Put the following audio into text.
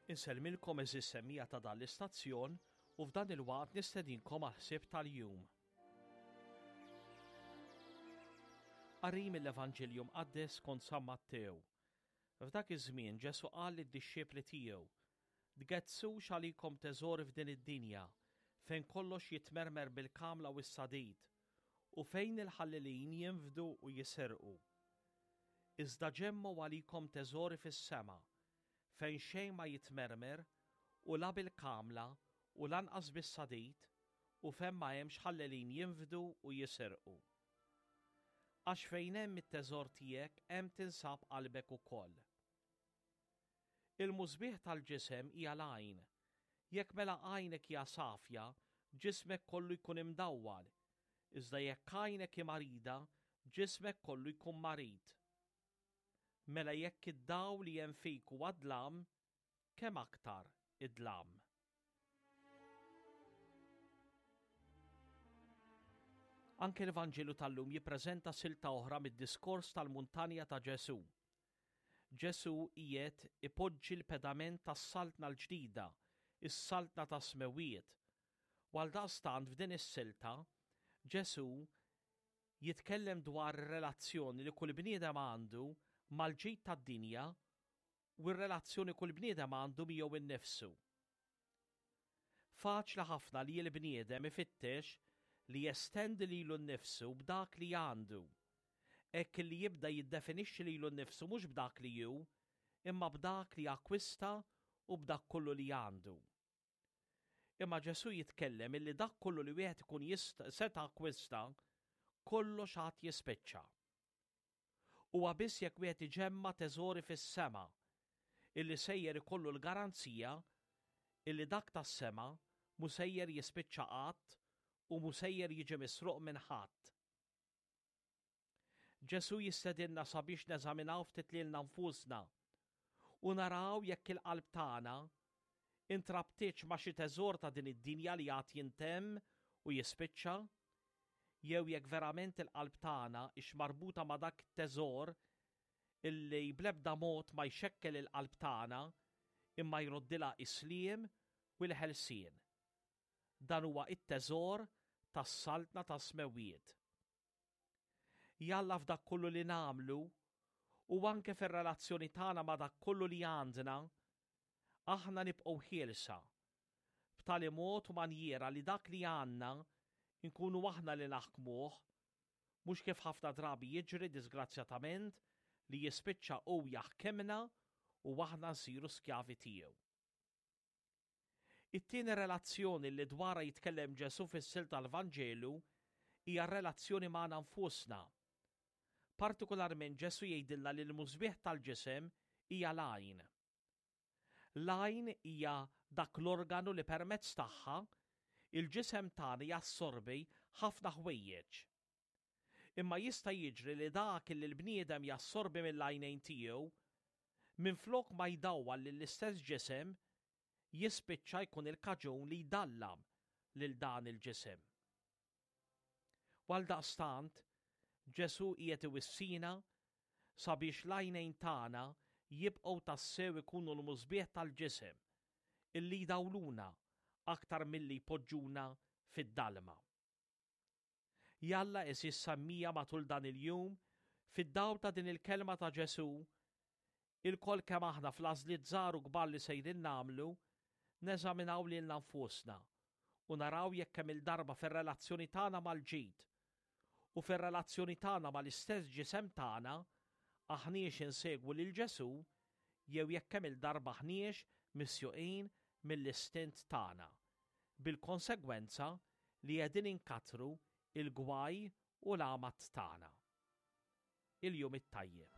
Insellmilkom għeżież semmiegħa ta' dan l-istazzjon u f'dan il-waqt nistedinkom għall-ħsieb tal-jum. Qari mill-Evanġelju Mqaddes skont San Mattew. F'dak iż-żmien Ġesù qal lid-dixxipli tiegħu, Tgedsux għalikom teżori f'din id-dinja, fejn kollox jitmermer bil-kamla u s-sadid, u fejn il-ħallelin jinfdu u jisirqu. Iżda ġemmgħu għalikom teżori fis-sema, fejn xejn ma jitmermer u la bil-kamla u lanqas bis-sadid, u fejn ma hemmx ħallelin jinfdu u jisirqu. Għax fejn hemm it-teżor tiegħek hemm tinsab qalbek ukoll. Il-musbieħ tal-ġisem hija l-għajn. Jekk mela għajnek hija safja, ġismek kollu jkun imdawwal, iżda jekk għajnek hi marida, ġismek kollu jkun marid. Mela jekk id-dawl li hemm fik huwa dlam, kemm aktar id-dlam? Anke l-Vanġelu tal-lum jippreżenta silta oħra mid-diskors tal-muntanja ta' Ġesù. Ġesù qiegħed ipoġġi l-pedament tas-Saltna l-ġdida, is-Saltna tas-Smewwiet. U għaldaqstant f'din is-silta, Ġesù jitkellem dwar ir-relazzjoni li kull bniedem għandu mal-ġid tad-dinja u r-relazzjoni kull bniedem għandu miegħu nnifsu. Faċli ħafna li l-bniedem ifittex li jestendi lilu nnifsu b'dak li għandu, hekk li jibda jiddefinixxi lilu nnifsu mhux b'dak li hu, imma b'dak li akkwista u b'dak kollu li għandu. Imma Ġesù jitkellem illi dak kollu li wieħed ikun seta' akkwista, kollox għad jispiċċa. Huwa biss jekk wieħed iġemma' teżori fis-sema illi sejjer ikollu l-garanzija illi dak tas-sema mhu sejjer jispiċċa qatt u mhu sejjer jiġi misruq minn ħadd. Ġesù jistedinna sabiex neżaminaw ftit lilna nfusna u naraw jekk il-qalb tagħna intrabtitx ma' xi teżor ta' din id-dinja li għad jintemm u jispiċċa, jew jekk verament il-qalb tagħna hix marbuta ma' dak it-teżor illi bl-ebda mod ma jxekkel il-qalb tagħna imma jroddilha is-sliem u l-ħelsien. Dan huwa t-teżor tas-Saltna tas-Smewwiet. Jalla f'dak kollu li nagħmlu u anke fir-relazzjoni tagħna ma' dak kollu li għandna, aħna nibqgħu ħielsa, b'tali mod u manjiera li dak li għandna nkunu aħna li naħkmuh, mhux kif ħafna drabi jiġri disgrazzjatament li jispiċċa hu jaħkimna u aħna nsiru skjavi tiegħu. It-tieni relazzjoni li dwarha jitkellem Ġesù fis-silta tal-Vanġelu hija r-relazzjoni magħna nfusna. Partikolarment Ġesù jgħidilna li l-musbieħ tal-ġisem hija l-għajn. L-għajn hija dak l-organu li permezz tagħha il-ġisem tagħna jassorbi ħafna ħwejjeġ. Imma jista' jiġri li dak li l-bniedem jassorbi mill-għajnejn tiegħu, minflok ma jdawwal lill-istess ġisem, jispiċċa jkun il-kaġun li jdallam lil dan il-ġisem. U għaldaqstant, Ġesù qiegħed iwissina sabiex l-għajnejn tagħna jibqgħu tassew ikunu l-musbieħ tal-ġisem, illi jdawluna aktar milli jpoġġuna fid-dalma. Jalla għeżież semmija matul dan il-jum, fid-dawl ta' din il-kelma ta' Ġesù, ilkoll kemm aħna fl-għażliet żgħar u kbar li sejrin nagħmlu, neżaminaw lilna nfusna u naraw jekk kemm-il darba fir-relazzjoni tagħna mal-ġid u fir-relazzjoni tagħna mal-istess ġisem tagħna aħniex insegwu lil Ġesù jew jekk kemm-il darba aħniex misjuqin mill-istint tagħna, bil-konsegwenza li qegħdin inkattru l-gwaj u l-għamad tagħna. Il-jum it-tajjeb.